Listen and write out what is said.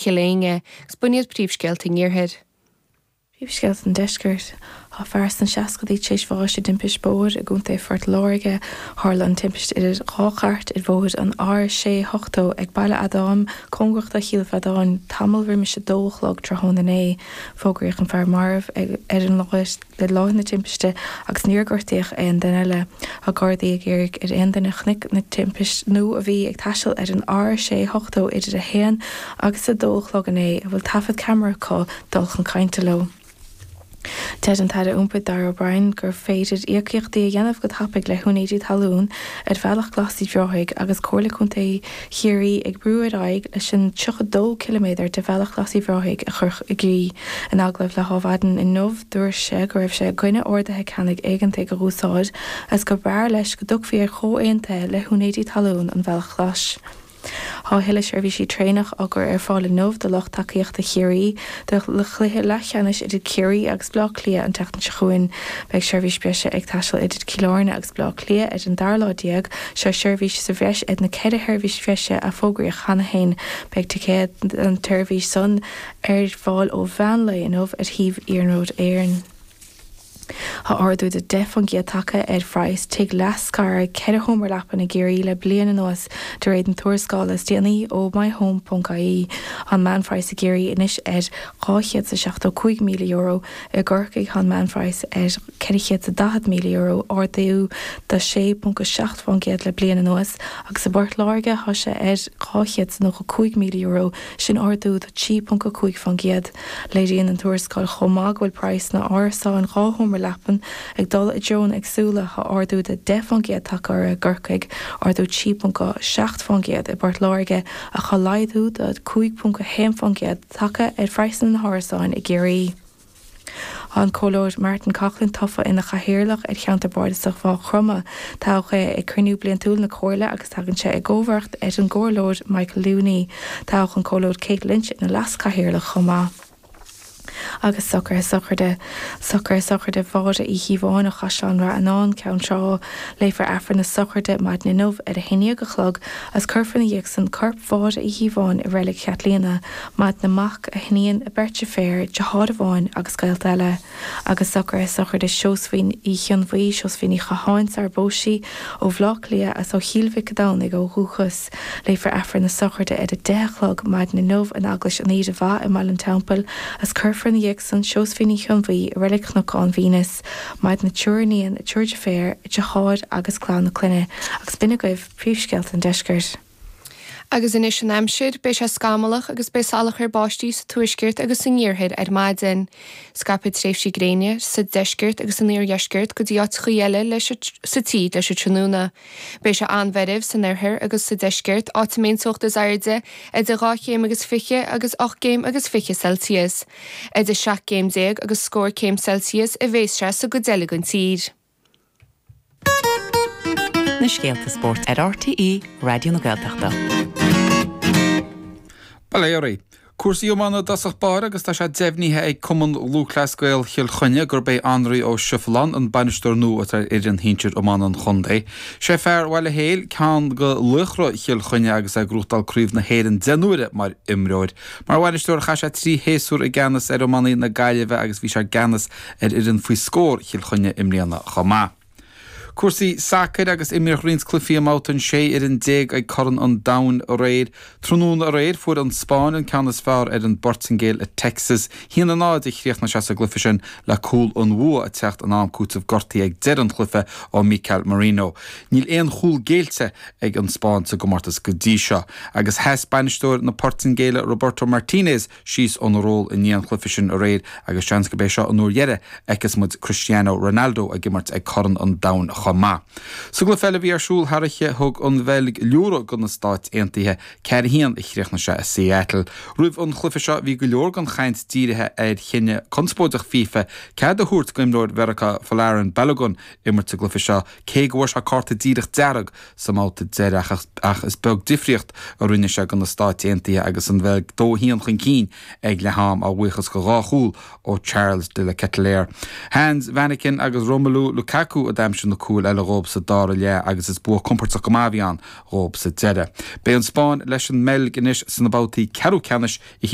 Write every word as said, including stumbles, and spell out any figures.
Chill Éinne, agus b'in iad príomhscéalta an iarthair. Príomhscéalta an Deiscirt. Tá fear sna seascaidí tar éis bháis i dtimpiste bóthair i gContae Phort Láirge. Tharla an timpiste idir dhá chairt ar bhóthar an R sé hochtó ag Baile Adaim cóngarach do Chill Feadáin tamall roimis a dó a chlog tráthnóna inné. Fógraíodh an fear marbh ar an láthair le láthair na timpiste agus níor gortaíodh aon duine eile. Tá Gardaí ag iarraidh ar aon duine a chonaic an timpiste nó a bhí ag taisteal ar an R sé hochtó idir a haon agus a dó a chlog inné a bhfuil taifead ceamara acu dul chun cainte leo. Deir an tAire Iompair Darragh O'Brien gur féidir íocaíochtaí a dhéanamh go tapaidh le húinéirí talún ar Bhealach Glas Uíbh Ráthaigh agus Comhairle Contae Chiarraí ag brú ar aghaidh leis an tríocha dó ciliméadar de Bhealach Glas Uíbh Ráthaigh a chur i gcrích. In agallamh le hAdhmhaidin inniu dúirt sé go raibh sé i gcoinne orduithe ceannaigh éigeantaigh a úsáid agus gur b'fhearr leis go dtiocfaí ar chomhaontuithe le húinéirí talún an Bhealaigh Ghlais. Tá a thuilleadh seirbhísí traenach á gcur ar fáil inniu do lucht tacaíochta Chiarraí do chluiche leathcheannais idir Ciarraí agus Bleá Cliath an tseachtain seo chugainn. Beidh seirbhís breise ag taisteal idir Cill Airne agus Bleá Cliath ar an dara lá déag, seo seirbhís sa bhreis ar na ceithre sheirbhís bhreise a fógraíodh cheana féin. Beidh ticéad don tseirbhís san ar fáil ó mheán lae inniu ar shuíomh Iarnród Éireann. Tá ardú de deich faoin gcéad tagtha ar phraghas tigh leathscartha ceithre sheomra leapan i gCiarraí le bliain anuas, de réir na tuarascála is déanaí ó myhome.ie. Tá an meánphraghas i gCiarraí anois ar dhá chéad is a seachtó cúig míle euro, i gCorcaigh tá an meánphraghas ar ceithre chéad is a daichead míle euro, ardú de sé ponc a seacht faoin gcéad le bliain anuas, agus i bPort Láirge tá sé ar dhá chéad is a nócha cúig míle euro, sin ardú de trí ponc a cúig faoin gcéad. Léiríonn an tuarascáil chomh maith go bhfuil praghas na n-árasán dhá sheomra leapan ag dul i dtreonna éagsúla, tá ardú de deich faoin gcéad tagtha orthu i gCorcaigh, ardú trí ponc seacht faoin gcéad i bPort Láirge ach tá laghdú de cúig ponc a haon faoin gcéad tagtha ar phraghsanna na n-árasán i gCiarraí. Tá an Comhairleoir Martin Coughlan tofa ina chathaoirleach ar Cheantar Bardasach Mhaigh Chromtha. Toghadh é ag cruinniú bliantúil na Comhairle agus tagann sé i gcomharbacht ar an gComhairleoir Michael Looney. Toghadh an Comhairleoir Kate Lynch ina leaschathaoirleach chomh maith. Agus socruithe sochraide Socruithe sochraide Mháire Uí Chíobháin ó Chaisleán Rath Fhionáin, Ceann Trá. Léifear Aifreann na sochraide maidin inniu ar a haon déag a chlog agus cuirfear ina dhiaidh san corp Mháire Uí Chíobháin i Reilig Chaitlíona. Maireann a mac, a hiníon, a beirt deirféar, deartháir amháin agus gaolta eile. Agus socruithe sochraide Seosaimhín Uí Chionbhuí, Seosaimhín Uí Chatháin sar a bpós sí, ó Bhaile Átha Cliath agus ó Chill Mhic an Domhnaigh ó dhúchas. Léifear Aifreann na sochraide ar a deich a chlog maidin inniu in Eaglais an Aoire Mhaith i mBaile an Teampaill agus cuirfear ina dhiaidh san Seosaimhín Uí Chionbhuí i Reilig Chnocán Mhínus. Maireann a triúr iníon, a triúr deirféar, a deartháir agus clann a clainne. Agus b'in agaibh príomhscéalta an deiscirt. Agus anois an aimsir, beidh sé scamallach agus beidh salachar báistí sa tuaisceart agus san iarthar ar maidin. Scaipfidh tréimhsí gréine sa deisceart agus san iardheisceart go dtí áiteacha eile leis sa tír leis an tráthnóna. Beidh sé an-mheirbh san oirthear agus sa deisceart, áit a mbeidh an teocht is airde idir dhá chéim agus fiche agus ocht gcéim agus fiche Celsius. Idir seacht gcéim déag agus scór céim Celsius a bheas sé sa gcuid eile den tír. Na scéalta spóirt ar RTÉ Raidió na Gaeltachta. Bail ó Dhia oraibh. Cúrsaí iomána i dtosach báire agus tá sé deimhnithe ag Cumann Lúthchleas Gael Chill Chainnigh gurb é Anraí Ó Seireadáin an bainisteoir nua atá ar fhoireann shinsir iomána an chontae. Sé fear Bhaile Héil ceann de laochra Chill Chainnigh agus é ag gnóthachtáil Craobh na hÉireann deich n-uaire mar imreoir. Mar bhainisteoir chaith sé trí shéasúr i gceannas ar iománaí na Gaillimhe agus bhí sé i gceannas ar fhoireann faoi scór Chill Chainnigh i mbliana chomh maith. Cúrsaí sacair agus imríodh roinnt cluichí i mbabhta an sé fhoireann déag ag Corn an Domhain aréir. Tráthnóna aréir fuair an Spáinn an ceann is fearr ar an bPortaingéil i Texas. haon a náid a chríochnaigh sé sa gcluiche sin le cúl an bhua ag teacht in am cúitimh gortaithe ag deireadh an chluiche ó Mikel Merino. Níl aon chúl géillte ag an Spáinn sa gcomórtas go dtí seo. Agus sheas bainisteoir na Portaingéile Roberto Martinez síos óna ról i ndiaidh an chluiche sin aréir agus seans gurb é seo an uair dheiridh a fheicfeas muid Cristiano Ronaldo ag imirt ag Corn an Domhain chomh maith. Sa gcluiche eile a bhí ar siúl thar oíche thug an Bheilg liúradh do na Stáit Aontaithe ceathair a haon a chríochnaigh sé i Seattle. Roimh an chluiche seo bhí go leor den chaint dírithe ar chinneadh conspóideach FIFA cead a thabhairt d'imreoir Mheiriceá Folarin Balogun imirt sa gcluiche seo cé go bhfuair sé cárta díreach dearg sa mbabhta deiridh ach is beag difríocht a rinne sé do na Stáit Aontaithe agus an Bheilg dó a haon chun cinn ag leath am a bhuíochas do dhá chúl ó Charles de la Ketelaere. Hans Vanaken agus Romelu Lukaku a d'aimsigh na cúil cúil eile dhóibh sa dara leath agus is bua compordach go maith a bhí ann dhóibh sa deireadh. Beidh an Spáinn leis an mBeilg anois sna babhtaí ceathrú ceannais i